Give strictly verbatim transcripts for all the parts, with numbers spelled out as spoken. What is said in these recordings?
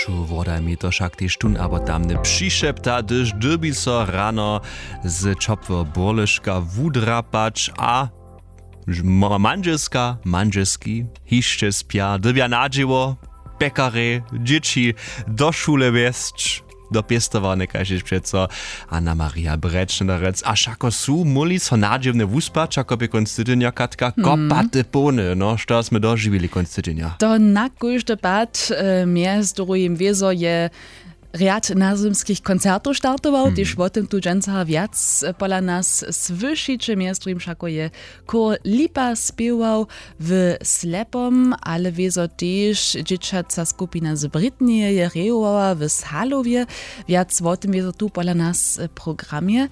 Wodami to wšak tež tón abo tamny přišepta, hdyž dyrbi so rano z ćopłeho burleška wudrapać a mandźelska mandźelski hišće spja, dyrbja na dźěło, pjekarjej, dźěći do šule wjesć, do pěstowarnje kaž tež přeco. Anna Maria Brečnerec, a wšako su móhli so nadźěwne wuspać, ako bě kónc tydźenja, Katka, kopaty połny, no što smy dožiwili kónc tydźenja? To na kóždy pad, mjez druhim wězo je rjad nazymskich koncertow startował, tež wo tym tu dźensa wjac pola nas słyšiće. Mjez druhim wšako je chór Lipa spěwał w Slepom, ale wězo tež dźěćaca skupina z Britneje je rejowała w Salowje. Wjac wo tym wězo tu pola nas w programje.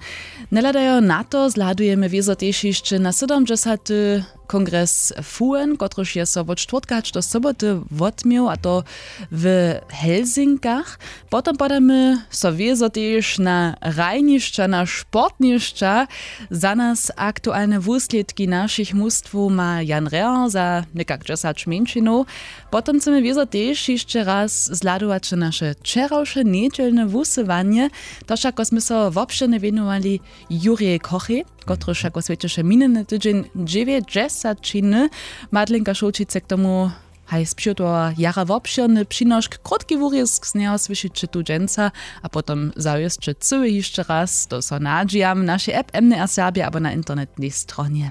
Njehladajo na to zhladujemy wězo tež hišće na sydomdźesaty kongres fuen, kotryž je so wot štwórtka hač do soboty wotměł, a to w Helsinkach. Potom podamy so wězo tež na hrajnišća, na sportnišća. Za nas aktualne wuslědki našich mustwow ma Jan Rehr za někak dźesać mjeńšinow. Potom chcemy wězo tež hišće raz zhladować na naše wčerawše njedźelne wusyłanje. To wšako smy so wobšěrnje wěnowali Jurjej Kochej, kotryž wšako swjećeše minjeny tydźeń dźewjećdźesaćiny. Madlenka Šołćic je k tomu haj spřihotowała jara wobšěrny přinošk, krótki wurězk z njeho słyšiće tu dźensa, a potom zawěsće cyły hišće raz. To so nadźijam w našej app M D R Serbja abo na internetnej stronje.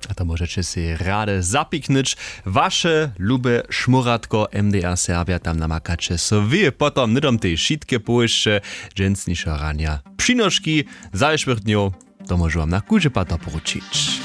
A to móžeće sej rady zapiknyć, waše lube šmóratko M D R Serbja, tam namakaće so wy potom hnydom tež wšitke powěsće dźensnišeho ranja, přinoški zašłych dnjow. To móžu wam na kóždy pad doporučić.